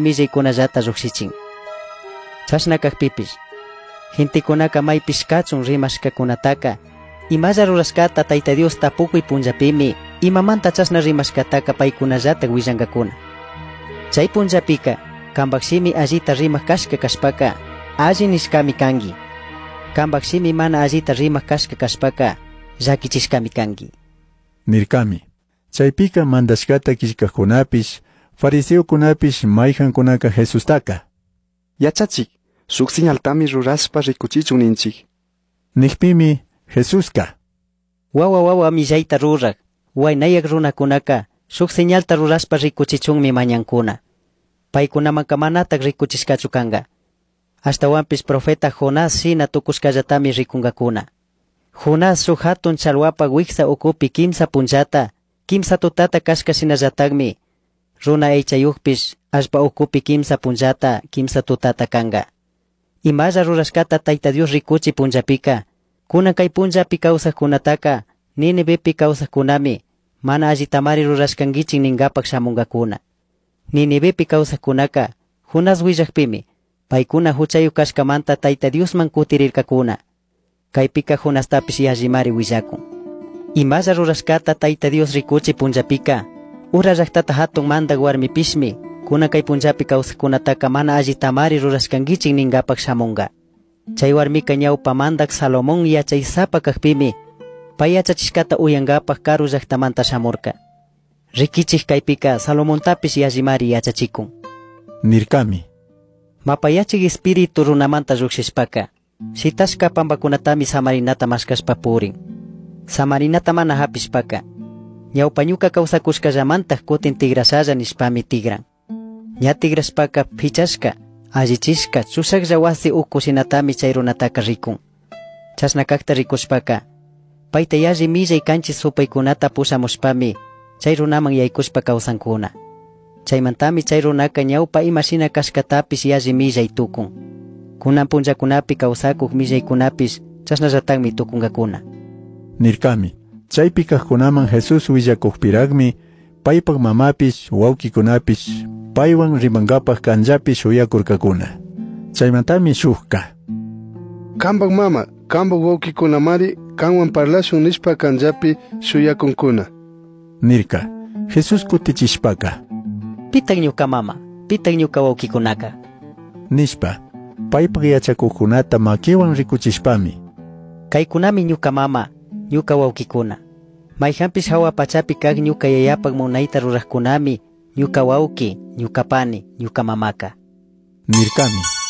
Millaicunallata llujshichin. Chashna cajpipish, gentecunaca maipish cachun rimashcacunataca, imalla rurashcata Taita Dios tapucui punllapimi, imamanta chashna rimashcataca paicunallataj huillangacuna. Chai punllapica, cambaj shimi allita rimaj cashca cashpaca, alli nishcami cangui. Cambaj shimi mana allita rimaj cashca cashpaca, llaquichishcami cangui. Nircami. Chaipica mandashcata quillcajcunapish, fariseocunapish maijancunaca Jesustaca. Yachachik, shuk señaltami rurashpa rikuchichun ninchik. Nijpimi Jesusca. Wawa wawa millaita ruraj, huainayac runacunaca shuk señalta rurashpa rikuchichunmi mañancuna. Paicunamanca manataj ricuchishcachu canga. Ashtahuanpish profeta Jonás shina tucushcallatami ricungacuna. Jonás shuk jatun chalhuapaj huijsa ucupi quimsa punllata, quimsa tutata cashca shinallatajmi, runa aichayujpish allpa ucupi quimsa punllata, quimsa tutata canga. Imalla rurashcata Taita Dios ricuchi punllapica, cunan cai punllapi causajcunataca, Ninivepi causajcunami, mana allitamari rurashcanguichik ningapaj shamungacuna. Ninivepi causajcunaca, Jonás huillajpimi, paicuna juchayuj cashcamanta Taita Diosman cutirircacuna. Caipica Jonastapish yallimari huillacun. Imalla rurashcata Taita Dios ricuchi punllapica, ura llajtata jatun mandaj huarmipishmi, cunan cai punllapi causajcunataca mana allitamari rurashcanguichik ningapaj shamunga. Chai huarmica ñaupa mandaj Salomón yachaysapa cajpimi, pai yachachishcata uyangapaj karu llajtamanta shamurca. Riquichij caipica Salomontapish yallimari yachachicun. Nircami. Mapayachij espíritu runamanta llujshishpaca, shitashca pambacunatami samarinata mashcashpa purin. Samarinata mana japishpaca, ñaupa ñuca causacushcallamantaj cutin tigrashalla nishpami tigran. Ña tigrashpaca pichashca, allichishca, chushajlla wasi ucu shinatami chay runataca ricun. Chashna cajta ricushpaca, paita yalli millai canchis supaicunata pushamushpami, chay runaman yaycushpa causancuna. Chaimantami chay runaca ñaupa ima shina cashcatapish yalli millai tucun. Cunan punllacunapi causacuj millaicunapish chashnallatajmi tucungacuna. Nircami. Chaipi cajcunaman Jesús huillacujpirajmi, paipaj mamapish, huauquicunapish, paiwan rimangapaj canllapi shuyacurcacuna. Chaimantami shujca. Cambaj mama, cambaj huauquicunamari canhuan parlashun nishpa canllapi shuyacuncuna. Nirca. Jesús cutichishpaca. Pitaj ñuca mama, pitaj ñuca huauquicunaca. Nishpa, paipaj yachacujcunata maquiwan ricuchishpami. Caicunami ñuca mama, ñuca huauquicuna. Maijanpish jahua pachapi caj ñuca yayapaj munaita rurajcunami, ñuca huauqui, ñuca pani, ñuca mamaca. Nircami.